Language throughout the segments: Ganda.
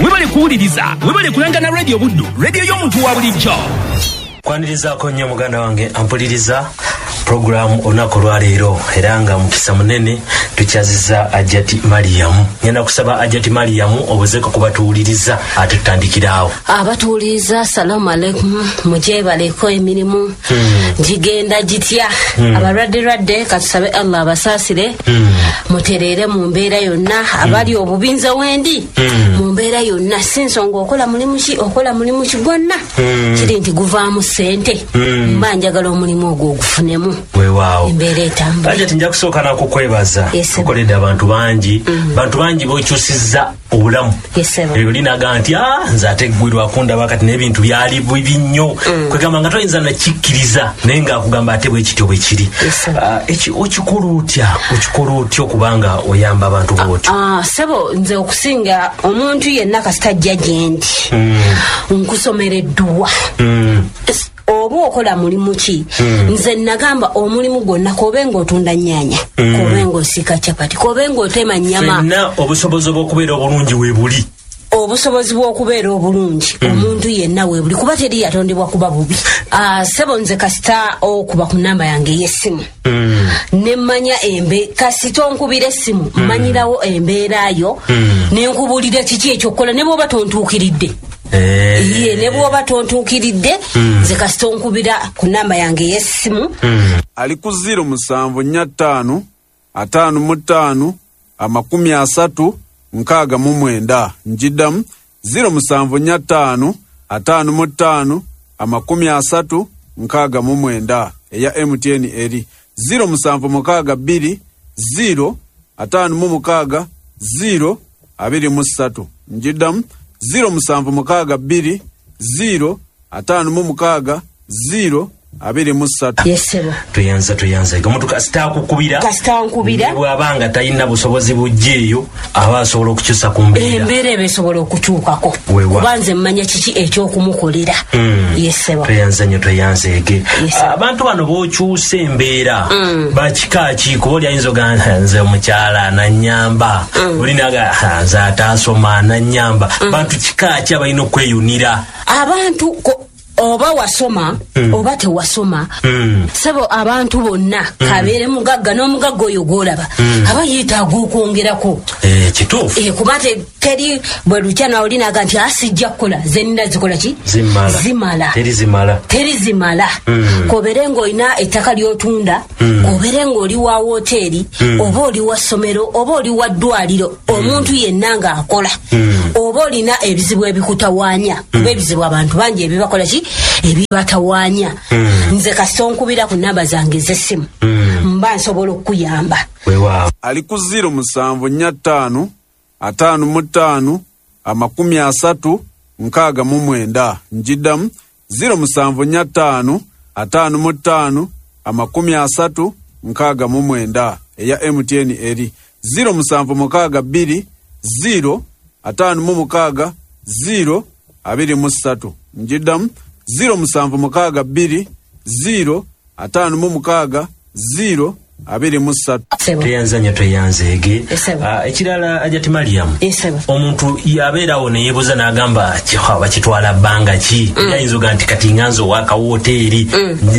Webale kuwuliriza, webale kulanga na Radio Buddu, radio y'omuntu wa bulijjo. Kwanirizaako nnyo muganda wange ampuliriza puroguramu olunaku olwaleero, era nga mukisa munene tukyaziza Hajjati Mariam. Ngenda kusaba Hajjati Mariam obuzeeko ku batuwuliriza ate tutandikiraawo. Abatuwuliriza, assalamu alaikum, mugyebaleko emirimu gigenda gitya? Abalwadde lwadde katusabe Allah abasaasire, mutereere mu mbeera yonna. Abali obubi nze wendi mu mbeera yonna, si nsonga okola mulimu ki, okola mulimu ki gwonna, kiri nti guvaamu ssente, mba njagala omulimu ogwo ogufunemu. Weewaawo. Embeera etambula. Hajjati, nja kusooka nakukwebaza. Yes, sir. Tukoledde abantu bangi, bantu bangi bokyusizza obulamu. Yes, sir. Oli naga nti nze ate ggwe lwakundaba kati n'ebintu byali bibi nnyo, kwegamba nga toyinza nakikkiriza, naye ng'akugamba ate bwe kityo bwe kiri. Yes, sir. Eki okikola otya? Okikola otya okubanga oyamba abantu bw'otyo? Sebo, nze okusinga omuntu yenna kasita ajja gye ndi, nkusomera edduwa. Oba okola mulimu ki, nze nagamba omulimu gwonna, kobe ng'otunda nnyaanya, kobe ng'osiika capati, kobe ng'otema nnyama, Ffenna obusobozi obw'okubeera obulungi weebuli. Obusobozi bw'okubeera obulungi omuntu yenna weebuli, kuba teri yatondebwa kuba bubi. Sebo, nze kasita okuba ku namba yange ey'essimu nemmanya embe, kasita onkubira essimu mmanyirawo embeera yo, nenkubulira kiki ekyokukola ne bw'oba tontuukiridde. Ye ne bw'oba tontuukiridde, nze kasita onkubira ku namba yange ey'essimu. Ali ku 0745 55 30 69. Njiddamu, 0745 55 30 69. Eya MTN eri 0762 0 56 0 23. Njiddamu, 0762 0 56 0 23. Yes, sebo. Tweyanza, tweyanza. Omuntu kasita akukubira, Kasita nkubira. ne bw'aba nga talina busobozi bujja eyo, aba asobola okukyusa ku mbeera. Embeera eba esobola okukyukako, kuba nze mmanya kiki ekyokumukolera. Yes, sebo. Tweyanza nnyo, tweyanzeege. Yes, sir. Abantu bano b'okyusa embeera bakika ki? Kuba oli ayinza ogamba, nze omukyala nanyamba, oli naga, "Ah, nze ataasoma nanyamba." Bantu kika ki abalina okweyunira? Abantu oba wasoma oba tewasoma, sebo, abantu bonna, kabeere mugagga n'omugagga oyo gwolaba aba yeetaaga okwongerako. Kituufu. Kuba teri bwe lukya nawe olinaga nti asijja kukola, ze nina zikola ki? Zimala. Zimala. Teri zimala. Teri zimala. Kobere ng'olina ettaka ly'otunda, kobere ng'oli wa woteeri, oba oli wa ssomero, oba oli wa ddwaliro, omuntu yenna ng'akola, oba olina ebizibu ebikutawaanya, oba ebizibu abantu bangi ebibakola ki, ebibatawaanya, nze kasita onkubira ku namba zange ez'essimu, mba nsobola okukuyamba. Weewaawo. Ali ku 0745 55 30 69. Njiddamu, 0745 55 30 69. Eya MTN eri 0762 0 56 0 23. Njiddamu, 0762 0 56 0 23. Sebo. Tweyanza nnyo, tweyanzeege. Yes, sir. Ekirala, Hajjati Mariam, Yes, sir. omuntu yabeerawo neyeebuuza n'agamba, bakitwala bbanga ki? Ayinza oga nti kati nganze owakawoteeri,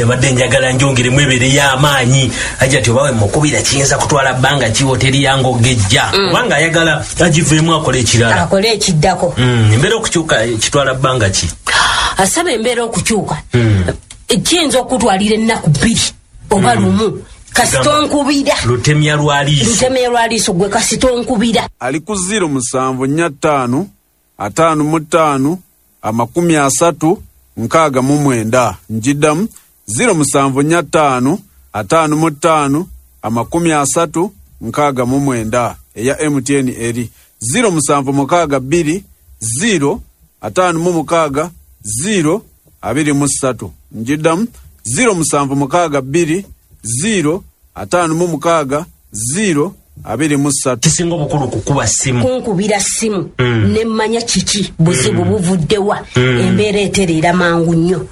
mbadde njagala njongeremu ebeereyo amaanyi. Hajjati, obawe mukubira, kiyinza kutwala bbanga ki woteeri yange ogejja, kubanga ayagala agiveemu akole ekirala? Akole ekiddako. Embeera okukyuka kitwala bbanga ki? Asaba embeera okukyuka kiyinza okutwalira ennaku 2 oba 1, kasita onkubira. Lutemya lwa liiso. Lutemya lwa liiso, gwe kasita onkubira. Ali ku 0745 55 30 69. Njiddamu, 0745 55 30 69. Eya MTN eri 0762 0 56 0 23. Njiddamu, 0762 0 56 0. 23. Kisinga obukulu kukuba simu, kunkubira simu nemmanya kiki buzibu buvuddewa, embeera etereera mangu nnyo.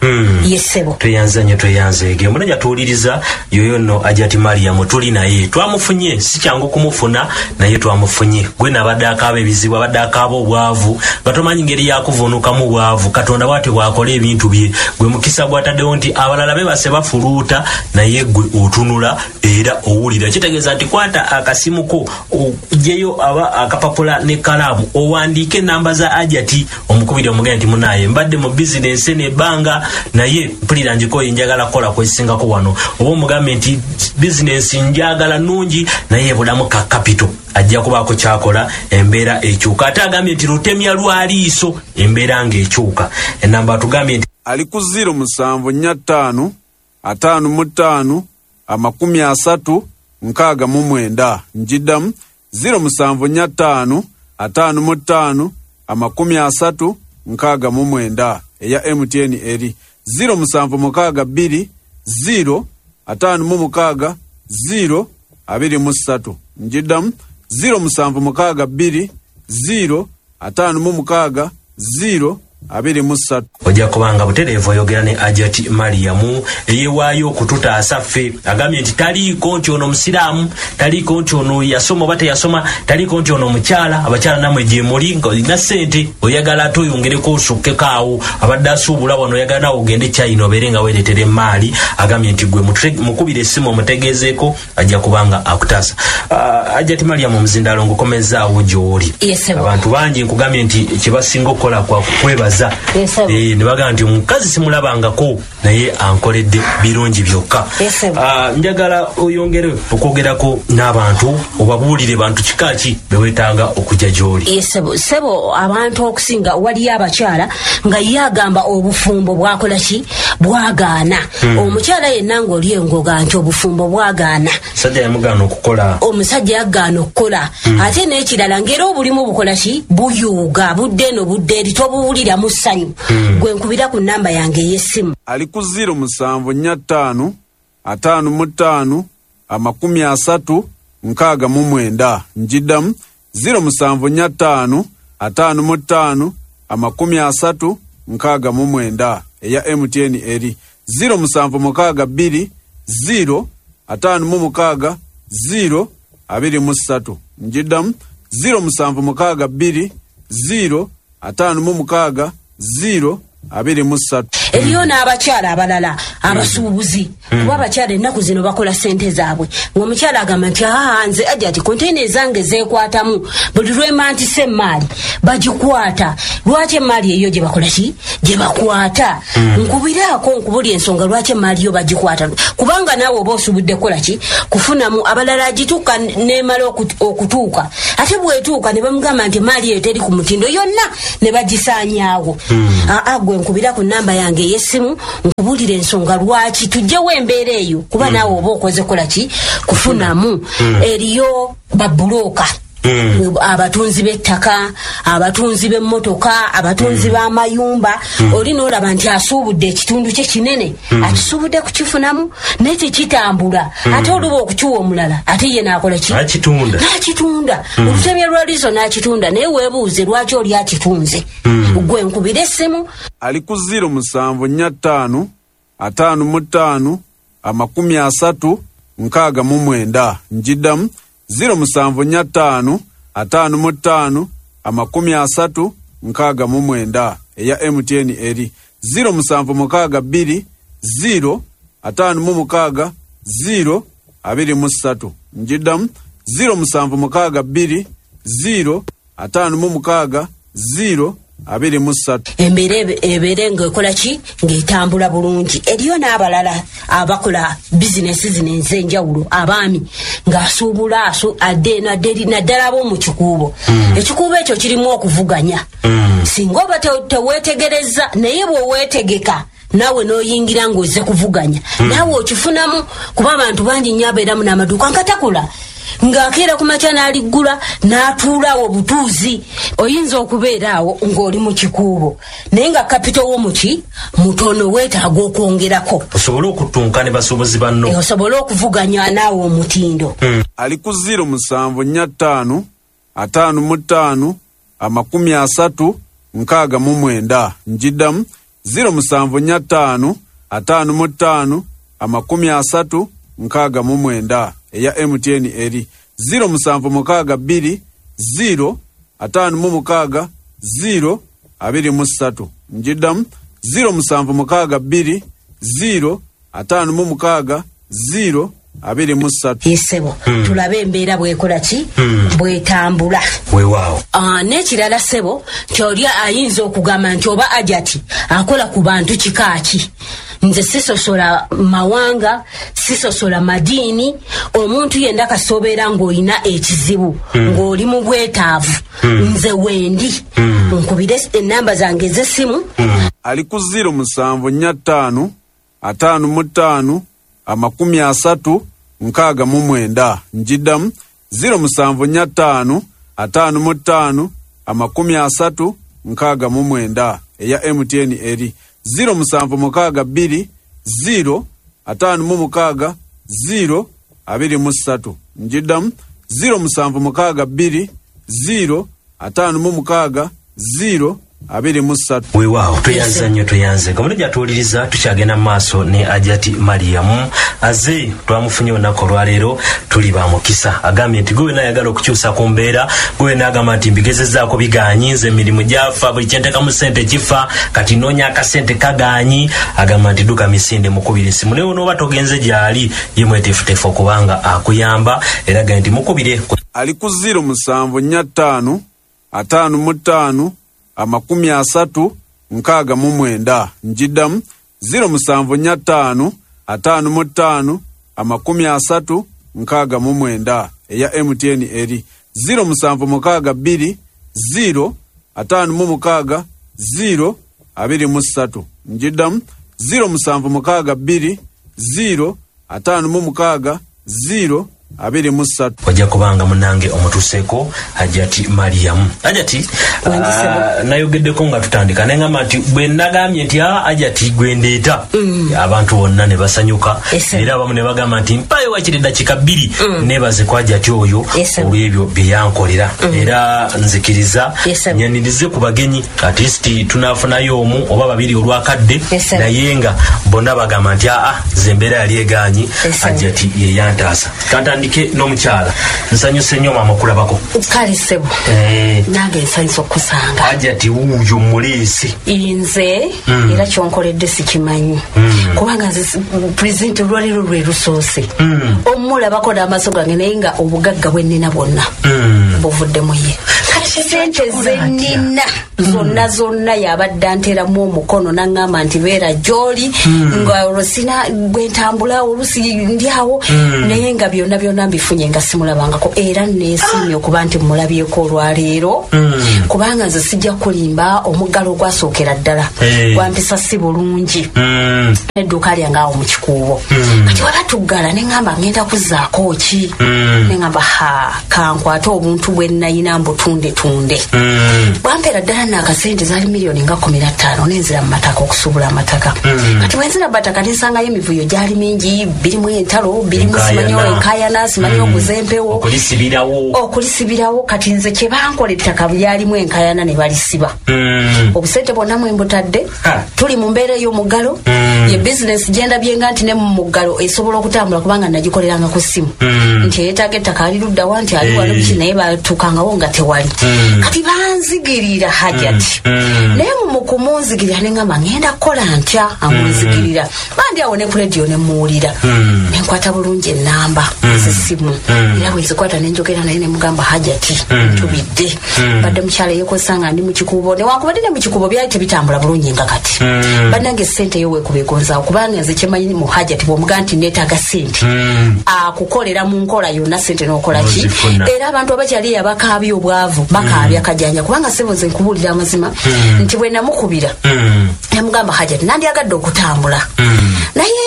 Yesebo tweyanza nnyo, tweyanzeege. Omunajja tuwuliriza yoyo nno Hajjati Mariam, tuli naye, twamufunye, si kyangu kumufuna naye twamufunye. Gwe nabadde akaaba ebizibu, abadde akaaba obwavu nga tomanyi ngeri yakuvunukamu bwavu. Katonda bw'atyo bw'akola ebintu bye. Gwe mukisa gwataddewo nti abalala bebase bafuluuta, naye gwe otunula era owulira. Kitegeeza nti kwata akasimu ko, oggyeyo aba akapapula n'ekkalaamu, owandiike enamba za Hajjati, omukubiri omugende nti munaye mbadde mu bizinensi eno ebbanga, naye mpulira njikoye, njagala kukola kwesingako wano. Oba omugambe nti bizinensi njagala nnungi naye ebulamu ka kapito, ajja kubaako kyakola, embeera ekyuka. Ate agambye nti lutemya lwa liiso, embeera ng'ekyuka. Enamba atugambye nti ali ku 0745 55 30 69. Njiddamu 0745 55 30 69. Eya MTN eri 0762 0 56 0 23. Njiddamu 0762 0 56 0 23. Ojja kubanga butereevu oyogera ne Hajjati Mariam eyewaayo okututaasa ffe. Agambye nti taliiko nti ono musiraamu, taliiko nti ono yasoma oba teyasoma, taliiko nti ono mukyala. Abakyala nammwe gye muli, nga olina ssente oyagala ate oyongereko osukkeko awo, abadde asuubula wano oyagala nawe ogende China obeere nga weereetera emaali. Agambye nti gwe mukubire essimu omutegeezeeko, ajja kubanga akutaasa. Hajjati Mariam, omuzindaalo ngukomezaawo gy'oli. Abantu bangi nkugambye nti kye basinga okukola kwa kukwebaza. Ne bagamba nti omukazi simulabangako naye ankoledde birungi byokka. Njagala oyongere okwogerako n'abantu, obabuulire bantu kika ki be weetaaga okujja gy'oli. Sebo, abantu okusinga waliyo abakyala nga ye agamba obufumbo bwakola ki, bwagaana. Omukyala yenna ng'oli engoga nti obufumbo bwagaana, omusajja yamugaana okukola, omusajja yagaana okukola. Ate n'ekirala ng'era obulimu bukola ki, buyuuga, budde eno budde eri, tobuwulira mu ssanyu. Gwe nkubira ku namba yange ey'essimu ali ku 0745 55 30 69. Njiddamu 0745 55 30 69. Eya MTN eri 0762 0 56 0 23. Njiddamu 0762 0 56 0 23. Eriyo n'abakyala abalala abasuubuzi, kuba abakyala ennaku zino bakola ssente zaabwe. Ng'omukyala agamba nti nze Hajjati konteyina ezange zeekwatamu, buli lwemantisa emaali bagikwata. Lwaki emaali eyo gye bakola ki, gye bakwata? Nkubiraako nkubuli ensonga lwaki emaali yo bagikwata, kubanga naawe oba osuubudde kukola ki, kufunamu. Abalala agituuka n'emala okutuuka, ate bw'etuuka ne bamugamba nti emaali eyo teri ku mutindo, yonna ne bagisaanyaawo. Gwe nkubira ku namba yange ey'essimu nkubulira ensonga lwaki tujjewo embeera eyo, kuba naawe oba okoze kola ki, kufunamu. Eriyo babulooka, abatunzi b'ettaka, abatunzi b'emmotoka, abatunzi b'amayumba. Oli n'olaba nti asuubudde ekitundu kye kinene, akisuubudde kukifunamu naye tekitambula. Ate oluba okukiwa omulala, ate ye n'akola ki, n'akitunda. Olutemya lwa liiso n'akitunda, naye weebuuze lwaki oli akitunze. Gwe nkubira essimu ali ku 0745 55 30 69. Njiddamu 0745 55 30 69. Eya MTN eri 0762 0 56 0 23. Njiddamu 0762 0 56 0 23. Embeera ebeere ng'ekola ki, ng'etambula bulungi. Eriyo n'abalala abakola bizinesi zino ez'enjawulo, abaami ng'asuubula adde eno adde eri, naddala ab'omu kikuubo. Ekikuubo ekyo kirimu okuvuganya, singa oba teweetegereza, naye bw'oweetegeka naawe n'oyingira ng'ozze kuvuganya, naawe okifunamu, kuba abantu bangi nnyo abeeramu n'amaduuka nga takola. Ng'akeera ku makya n'aliggula n'atuulaawo obutuuzi. Oyinza okubeera awo ng'oli mu kikuubo, naye nga kapito wo muki mutono, weetaaga okwongerako osobole okutunka ne basuubuzi banno, osobole okuvuganya naawe omutindo. Ali ku 0745 55 30 69. Njiddamu 0745 55 30 69. Eya MTN eri 0762 0 56 0 23. Njiddamu 0762 0 56 0 23. Yesebo, tulabe embeera bwekola ki, bwetambula. Weewaawo. N'ekirala ssebo, nti oli ayinza okugamba nti oba Hajati akola ku bantu kika ki? Nze sisosola mawanga, sisosola madiini. Omuntu yenna kasobeera ng'olina ekizibu, ng'oli mu bwetaavu, nze wendi. Nkubire enamba zange ez'essimu. Ali ku 0745 55 30 69. Njiddamu 0745 55 30 69. Eya MTN eri 0762 0 56 0 23. Njiddamu 0762 0 56 0 23. Weewaawo, tweyanze nnyo, tweyanze. Kamulejja atuwuliriza, tukyagenda mu maaso ne Hajati Mariamu aze twamufunye olunaku olwaleero, tuli ba mukisa. Agambye nti gwe wenna ayagala okukyusa ku mbeera, gwe wenna agamba nti mbigezezzaako bigaanyi, nze emirimu gyafa, buli kyenteekamu ssente kifa, kati noonya akasente kagaanyi. Agamba nti dduka misinde, mukubire essimu, naye onooba togenze gy'ali, ye mweteefuteefu okubanga akuyamba, era agambye nti mukubire. Ali ku 0745 55 30 69. Njiddamu 0745 55 30 69. Eya MTN eri 0762 0 56 0 23. Njiddamu 0762 0 56 0 23. Ojja kubanga munange omutuuseeko Hajati Mariamu. Hajati, nayogeddeko nga tutandika nengamba nti bwe nagambye nti Hajati gwe ndeeta, abantu bonna ne basanyuka, era abamu ne bagamba nti mpayo wakiri eddakiika 2 neebaze ku Hajati oyo olw'ebyo bye yankolera. Era nzikiriza nyanirize ku bagenyi, at least tunaafunayo omu oba babiri olwakadde, naye nga bonna bagamba nti nze embeera yali egaanyi, Hajati ye yantaasa. Kantandike n'omukyala. Nsanyuse nnyo maama okulabako. Kale ssebo, nange nsanyuse okukusanga. Hajati wuuyo muleesi. Nze era kyonkoledde sikimanyi, kubanga nze pulezidenti olwaleero lwe lusoose omulabako n'amaaso gange, naye nga obugagga bwe nnina bwonna buvudde mu ye. Sente zenina zonna zonna yabadde anteramu omukono n'aŋŋamba nti beera gy'oli, nga olwo sina bwe ntambula, olusi ndi awo, naye nga byonna byonna mbifunye nga simulabangako. Era neesiimye okuba nti mulabyeko olwaleero, kubanga nze sijja kulimba, omuggalo ogwasookera ddala gwampisa si bulungi edduuka lyange awo mu kikuubo. Kati waba tuggala ne ŋŋamba ngenda kuzzaako ki, ne ŋŋamba ha, kankwate obuntu bwe nnayina mbutundetunde. Bwampeera ddala naakasente zaali miliyoni nga 15, nenzira mu mataka okusuubula amataka. Kati bwenzira mu mataka nensangayo emivuyo gyali mingi, birimu entalo, birimu simanyi enkayana, simanyi oguza empewo, okulisibirawo. Kati nze kye bankola ettaka lyalimu enkayana ne balisiba. Obusente bwonna mwe mbutadde, tuli mu mbeera ey'omuggalo. Ye bizinesi gyendabye nga nti ne mu muggalo esobola okutambula, kubanga nagikoleranga ku ssimu nti eyeetaaga ettaka ali luddawa, nti ali wano biki, naye batuukangawo nga tewali. Kati banzigirira Hajati, naye mu kumunzigirira ne ŋŋamba ngenda kukola ntya amunzigirira. Bandi awo ne ku rediyo ne muwulira, ne nkwata bulungi ennamba z'essimu, era bwe nzikwata ne njogera naye ne mugamba Hajati ntubidde, badde mukyala eyekozesa nga ndi mu kikuubo, newankubadde ne mu kikuubo byali tebitambula bulungi nga kati. Bannange ssente yo weekuba egonzaawo, kubanga nze kyemanyi mu Hajati bw'omugaa nti neetaaga ssente, akukolera mu nkola yonna ssente n'okola ki. Era abantu abakyali abakaabya obwavu bakaabya kajanja, kubanga ssebo nze nkubuulira amazima nti bwe namukubira Nemugamba Hajati nandyagadde okutambula, naye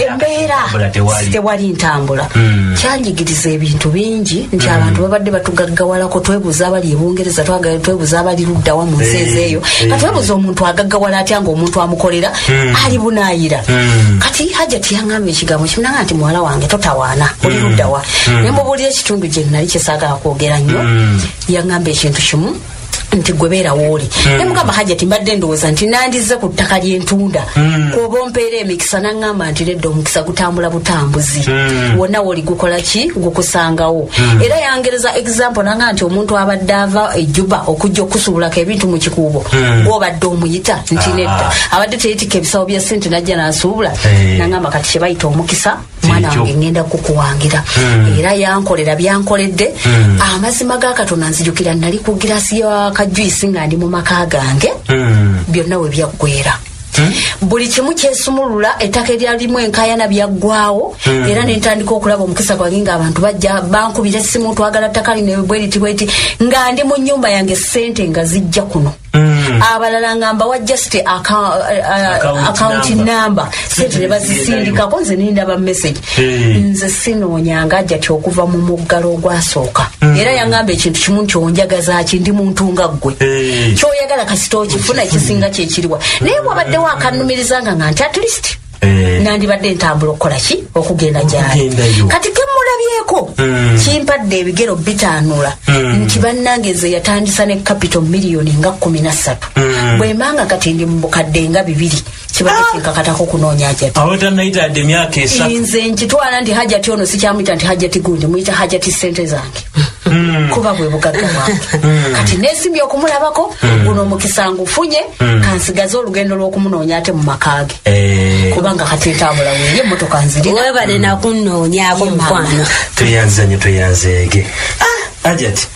embeera tewali ntambula. Kyanjigiriza ebintu bingi nti abantu babadde batugaggawalako, twebuuza abali e Bungereza, twebuuza abali luddawa mu nsi ezeeyo, nga twebuuza omuntu agaggawala atya ng'omuntu amukolera ali bunaayira. Kati Hajati yaŋŋamba ekigambo kimunanga nti muwala wange totawaana, oli luddawa. Ne mubuulira ekitundu gye nali kyesaagala kwogera nnyo. Yaŋŋamba ekintu kimu nti gwe beera wooli. Ne mugamba Hajati mbadde ndowooza nti nandizze ku ttaka ly'entunda kwoba ompeera emikisa. Naŋŋamba nti nedda, omukisa gutambula butambuzi, wonna wooli gukola ki, gukusangawo. Era yangereza example nanga nti omuntu abadde ava ejjuba okujja okusuubulako ebintu mu Kikuubo, gwobadde omuyita nti nedda, abadde teyetikka ebisawo bya ssente najja n'asuubula. Naŋŋamba kati kye bayita omukisa, mwana wange, ŋŋenda kukuwangira. Era yankolera byankoledde. Amazima ga Katonda, nzijukira nali ku girasi ya kajuisi nga ndi mu maka gange, byonna we byaggwera, buli kimu kyesumulula, ettaka eryalimu enkayana byaggwawo. Era nentandika okulaba omukisa gwange ng'abantu bajja bankubira essimu, twagala ttaka lino bweriti bweriti, nga ndi mu nnyumba yange, sente nga zijja kuno. Abalala nga mbawa just account number, sente ne bazisindikako, nze nindaba message. Nze sinoonyanga Ajati okuva mu muggalo ogwasooka. Era yaŋŋamba ekintu kimu nti onjagaza ki, ndi muntu nga ggwe, kyoyagala kasita okifuna, ekisinga kyekiriwa. Naye bwabaddewo akanumiriza nga nti at least nandibadde ntambula okukola ki, okugenda gyali. Kati kemulabyeko kimpadde ebigero bitaanula nti bannange nze yatandisa ne capital miliyoni nga 13, bwembanga kati ndi mu bukadde nga 2, kibadde kinkakatako kunoonya Hajati. Awo tannayitadde emyaka 3. Nze nkitwala nti Hajati ono sikyamuyita nti Hajati gundi, muyita Hajati sente zange, kuba bwe bugagga bwange. Kati nesimbye okumulabako, guno omukisa ngufunye, kansigaze olugendo lw'okumunoonya ate mu maka ge, kubanga kati entambula weeri, emmotoka nzirina. Webale nakunoonyaako, mukwano. Tweyanza nnyo, tweyanzeege. Ajati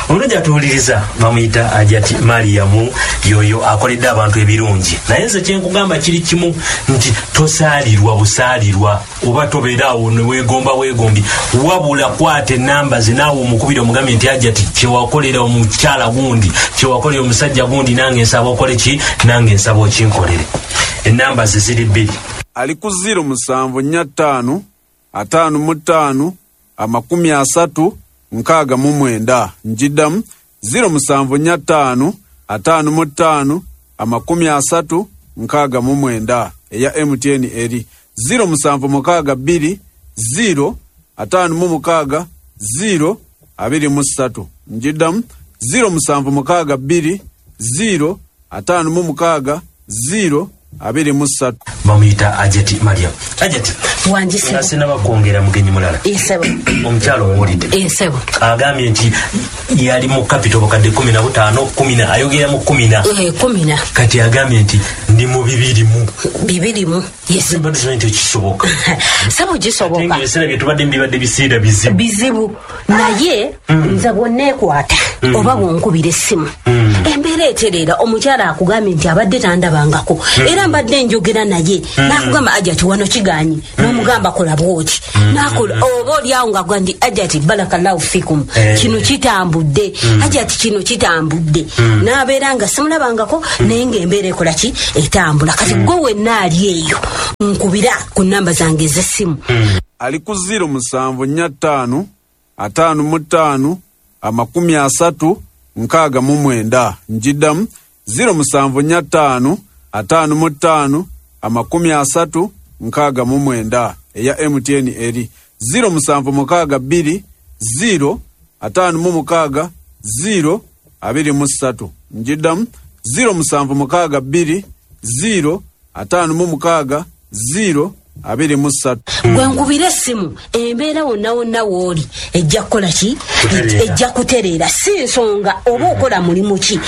omulungi atuwuliriza bamuyita Ajati Mariyamu, yoyo akoledde abantu ebirungi. Naye nze kyenkugamba kiri kimu nti tosaalirwa busaalirwa oba tobeeraawo neweegomba weegombi, wabula kwata enamba ze naawe omukubira omugambye nti Ajati, kyewakolera omukyala gundi, kyewakolera omusajja gundi, nange nsaba okole ki, nange nsaba okinkolere. Enamba ze ziri bbiri. Ali ku 0745 55 30 69. Njiddamu, 0745 55 30 69. Eya MTN eri 0762 0 56 0 23. Njiddamu, 0762 0 56 0 23. Bamuyita Ajati Mariam. Ajati, Wangi. nga sinaba kwongera mugenyi mulala, Esebo. omukyalo owulidde? Esebo. Agambye nti yali mu capital bukadde 15, kumi na, ayogera mu kumi na. Kumi na. Kati agambye nti ndi mu bibiri mu Bibiri mu, yes. Mbadde simanyi nti ekisoboka. Sabo, Ate gisoboka. nga ebiseera bye tubadde bibadde biseera bizibu. Bizibu, naye nze bwonneekwata oba bwonkubira essimu, embeera etereera. Omukyala akugambye nti abadde tandabangako, era mbadde njogera naye nakugamba Ajati wano kiganyi, n'omugamba kola bwoti, nakola, oba oliawo nga gwa nti Ajati barakallahu fikum, kino kitambudde, Ajati kino kitambudde, nabeera nga simulabangako, naye ngaembeera ekola ki, etambula. Kati gwe wenna ali eyo, nkubira ku namba zange ez'essimu. Ali ku 0745 55 30 69. Njiddamu, 0745 55 30 69. Eya MTN eri 0762 0 56 0 23. Njiddamu, 0762 0 56 0 23. Gwe nkubira essimu, embeera wonna wonna wooli ejja kukola ki? Kutereera. Ejja kutereera. Si nsonga oba okola mulimu ki,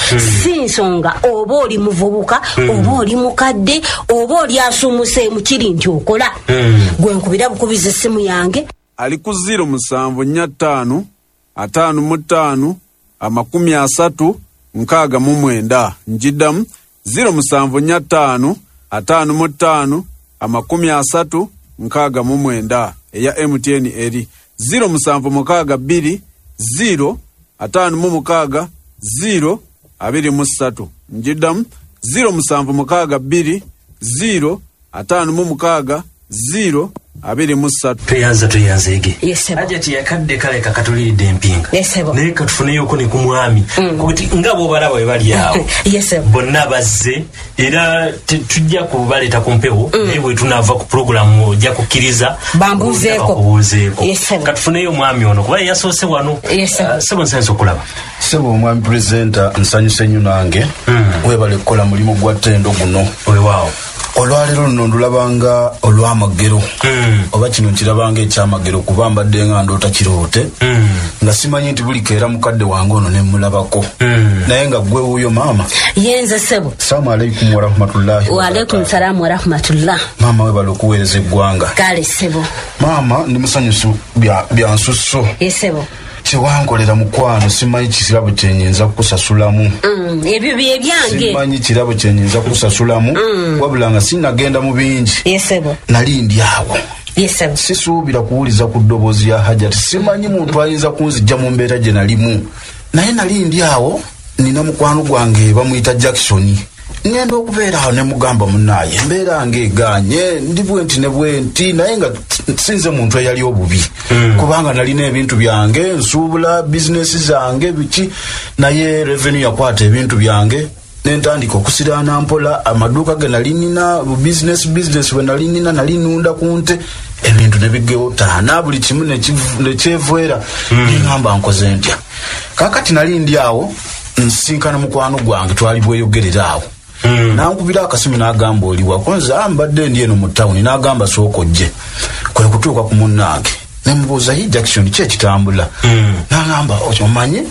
si nsonga oba oli muvubuka oba oli mukadde oba oli asumuseemu, kiri nti okola. Gwe nkubira bukubiza essimu yange. Ali ku 0745 55 30 69. Njiddamu, 0745 55 30 69. Eya MTN eri 0762 0 56 0 23. Njiddamu, 0762 0 56 0 23. Tweyanza tweyanzeege. Yes, sebo. Hajati yakadde kale kakatuliridde empinga. Yes, sebo. Naye katufuneyoko ne ku mwami kuti nga bw'obalaba bwe bali awo. Yes, sebo. Bonna bazze era tujja kubaleeta ku mpewo, naye bwe tunaava ku pulogulaamu ojja kukkiriza Bambuuzeeko. bakubuuzeeko. Yes, sebo. Katufuneyo omwami ono kuba ye yasoose wano. Yes, sebo. Ah, sebo, nsanyusa okulaba. Sebo omwami purezidenta, nsanyuse nnyo nange. Webale kukola mulimu gwa ttendo guno. Weewaawo. Olwaleero luno ndulabanga olw'amagero, oba kino nkirabanga ekyamagero, kuba mbadde nga ndoota kiroote nga simanyi nti buli keera mukadde wange ono nemulabako, naye nga gwe wuuyo maama. Yenze sebo. Salaamu aleikum warahmatullahi. Waalaikum salaamu warahmatullah. Maama, webale okuweereza eggwanga. Kale sebo. Maama, ndi musanyusu bya nsusso. Ye sebo. Kyewankolera mukwano, simanyi kirabo kyenyinza kukusasulamu. Ebyo byebyange. Simanyi kirabo kyenyinza kukusasulamu, wabula nga sinagenda mu bingi, Ye sebo. nali ndi awo, Ye sebo. sisuubira kuwuliza ku ddoboozi ya Hajati, simanyi muntu ayinza kunzijja mu mbeera gye nalimu, naye nali ndi awo nina mukwano gwange bamuyita Jackson. Ngenda okubeera awo ne mugamba, munaaye, embeera ng'egaanye, ndi bwe nti ne bwe nti, naye nga sinze muntu eyali obubi, kubanga nalina ebintu byange, nsuubula bizinesi zange biki, naye revenue yakwata ebintu byange nentandika okusiraana mpola amaduuka ge nali nina, bizinesi bwe nali nina, nali nunda ku nte, ebintu ne bigeotaana, buli kimu nekyevwera. Neŋamba nkoze ntya? Kakati nali ndi awo nsinkana mukwano gwange, twali bweyogerera awo, nankubira akasimu n'agamba, oliwa? Konze mbadde ndi eno mu tawuni. N'agamba, sooka ojje. Kwe kutuuka ku munnange nemubuuza, hi Jackson, ki ekitambula? N'agamba, omanyi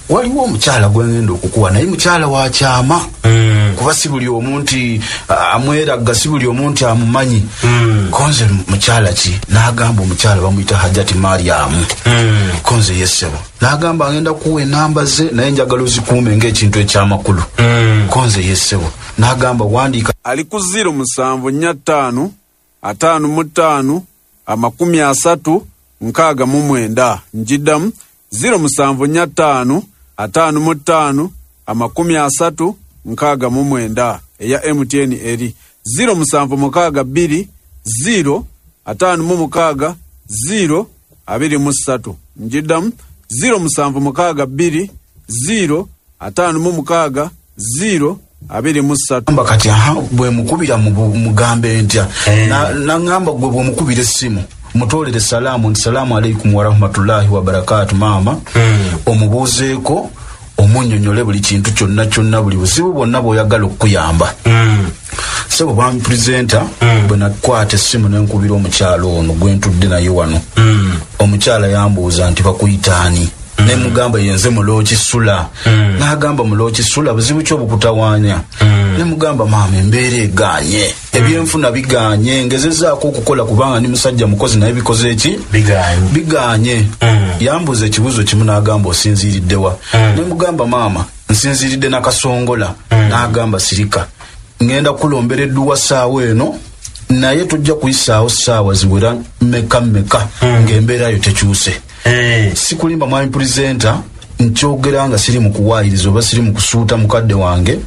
waliwo omukyala gwengenda okukuwa, naye mukyala wa kyama, kuba si buli omu nti amweragga, si buli omu nti amumanyi. Konze mukyala ki? N'agamba, omukyala bamuyita Hajati Mariamu. Konze yesebo. N'agamba, ngenda kuwa enamba ze, naye njagala ozikuume ng'ekintu ekyamakulu. Konze yesebo. N'agamba, wandiika. Ali ku 0745 55 30 69. Njiddamu, 0745 55 30 69. Eya MTN eri 0762 0 56 0 23. Njiddamu, 0762 0 56 0 23. Amba kati aha, bwe mukubira mugambe ntya? Naŋŋamba, gwe bwemukubira essimu mutolere salaamu nti salaamu aleikum warahmatullahi wabarakatu maama, omubuuzeeko, omunnyonnyole buli kintu kyonna kyonna, buli buzibu bwonna bw'oyagala okukuyamba. Sebo bwami purezenta, bwe nakwata essimu nenkubira omukyalo ono gwe ntudde naye wano, omukyala yambuuza nti bakuyitaani? Nemugamba yenze Mulokisula. N'agamba, Mulokisula, buzibu ki obukutawaanya? Nemugamba, maama, embeera eganye, ebyenfuna biganye, ngezezaako okukola kubanga ndi musajja mukozi, naye bikoze eki? Biganye. Biganye. Yambuuza ekibuuzo kimu, n'agamba, osinziiriddewa? Nemugamba, maama, nsinziiridde Nakasongola. N'agamba, sirika, ngenda kulombera edduwa saawa eno, naye tojja kuyisaawo saawa ziwera mmeka mmeka ng'embeera yo tekyuse. Sikulimba mwami purezenta, nkyogera nga siri mu kuwaayiriza oba siri mu kusuuta mukadde wange.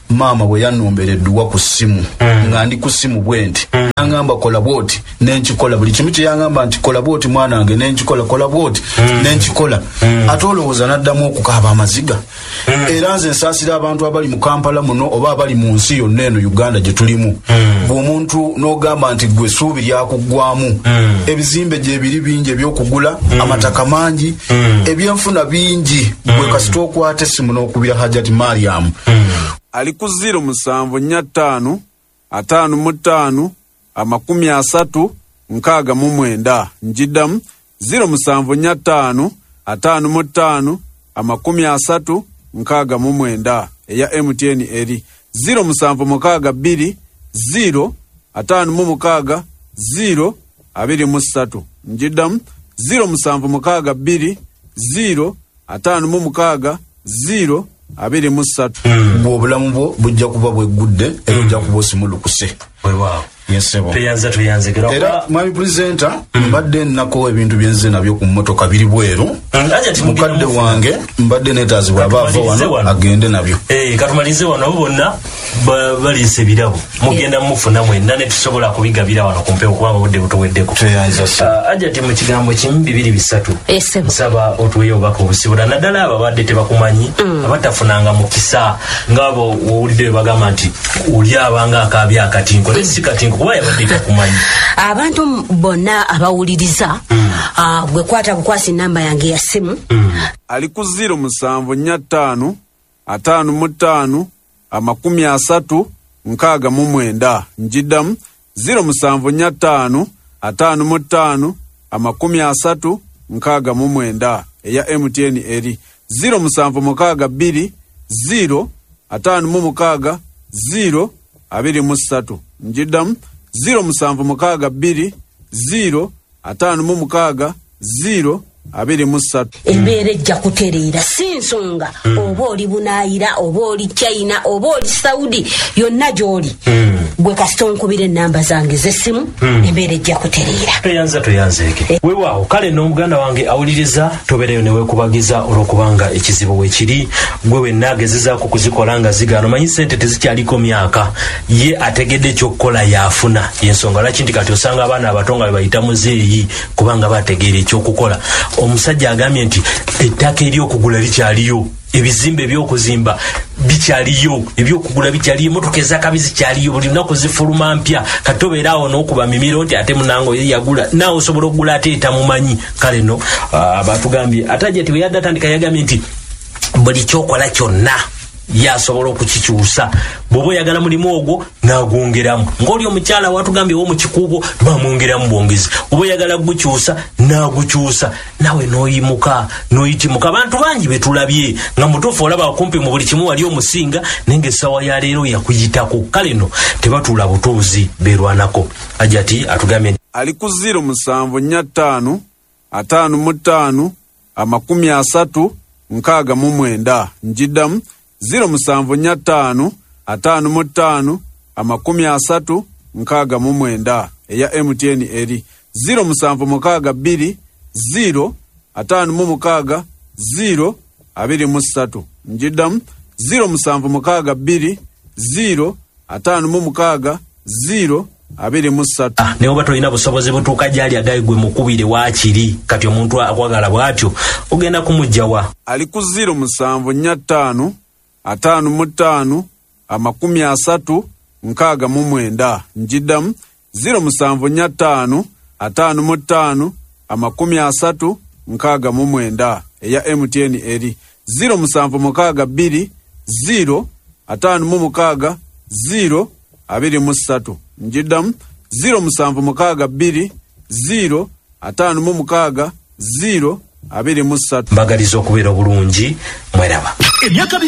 Maama bwe yannombera edduwa ku ssimu, nga ndi ku ssimu bwe nti, naŋŋamba kola bwoti, nenkikola. Buli kimu kye yaŋŋamba nti kola bwoti mwana wange, nenkikola, kola bwoti, nenkikola. Ate olowooza naddamu okukaaba amaziga? Era nze nsaasira abantu abali mu Kampala muno oba abali mu nsi yonna eno Uganda gye tulimu, bw'omuntu n'ogamba nti gwe essuubi lyakuggwamu, ebizimbe gyebiri bingi ebyokugula, amataka mangi, ebyenfuna bingi, gwe kasita okwata essimu n'okubira Hajati Mariamu. Ali ku 0745 55 30 69. Njiddamu, 0745 55 30 69. Eya MTN eri 0762 0 56 0 23. Njiddamu, 0762 0 56 0 23. Bwe obulamu bwo bujja kuba bweggudde era ojja kuba osimulukuse. Weewaawo. Tweyanza tweyanzegera. Era mwami presenter, mbadde nnako ebintu byenze nabyo ku mmotoka biri bweru. Mukadde wange mbadde neetaazibwa aba ava wano agende nabyo. Katumalize wano, abo bonna baliisa ebirabo, mugenda mufuna mwenna ne tusobola kubigabira wano ku mpewo kubanga obudde butuweddeko. Ajati, mu kigambo kimu, bibiri, bisatu, nsaba otuweyo obubaka obusibula, naddala abo abadde tebakumanyi, abatafunanga mukisa, ngaabo owulidde bwe bagamba nti oli abanga akaabya akatinko, naye si katinko kuba yabadde takumanyi. Abantu bonna abawuliriza, gwe kwata bukwasi namba yange ya simu. Ali ku 0745 55 30 69. Njiddamu, 0745 55 30 69. Eya MTN eri 0762 0 56 0 23. Njiddamu, 0762 0 56 0 23. Embeera ejja kutereera, si nsonga oba oli Bunaayira, oba oli China, oba oli Saudi, yonna gy'oli, gwe kasita onkubira enamba zange z'essimu, embeera ejja kutereera. Tweyanza tweyanzeeke, weewaawo. Kale n'omuganda wange awuliriza, tobeereyo newekubagiza olwokubanga ekizibu weekiri. Gwe wenna agezezaako kuzikola nga zigaana, omanyi sente tezikyaliko myaka, ye ategedde ekyokukola yafuna. Yensonga lwaki nti kati osanga abaana abato nga bebayita muzeeyi, kubanga bategeera ekyokukola. Omusajja agambye nti ettaka eryokugula likyaliyo, ebizimbe ebyokuzimba bikyaliyo, ebyokugula bikyaliyo, emotoka ezakabi zikyaliyo, buli lunaku zifuluma mpya. Kati obeera awo n'okuba mimiro nti ate munange oyo yagula, naawe osobola okugula ate etamumanyi. Kale no batugambye ate ajja ti bwe yadde atandika yagambye nti buli kyokola kyonna yasobola okukikyusa. Bw'oba oyagala mulimu ogwo n'agwongeramu, ng'oli omukyala watugambye ow'omukikuubo bamwongeramu bwongezi. Oba oyagala gukyusa n'agukyusa, nawe n'oyimuka n'oyitimuka. Abantu bangi betulabye nga mutuufu olaba kumpi mu buli kimu wali omusinga, naye ng'essaawa ya leero yakuyitako. Kale no tebatuula butuuzi, beerwanako. Ajati atugambye Ali ku 0745 55 30 69. Njiddamu, 0745 55 30 69. Eya MTN eri 0762 0 56 0 23. Njiddamu, 0762 0 56 0 23. Naye oba tolina busobozi butuuka gyali, agayi gwe mukubire waakiri. Kati omuntu akwagala bw'atyo ogenda kumugjawa? Ali ku 0745 55 30 69. Njiddamu, 0745 55 30 69. Eya MTN eri 0762 0 56 0 23. Njiddamu, 0762 0 56 0 23. Mbagaliza okubeera obulungi, mweraba. Emyaka 20.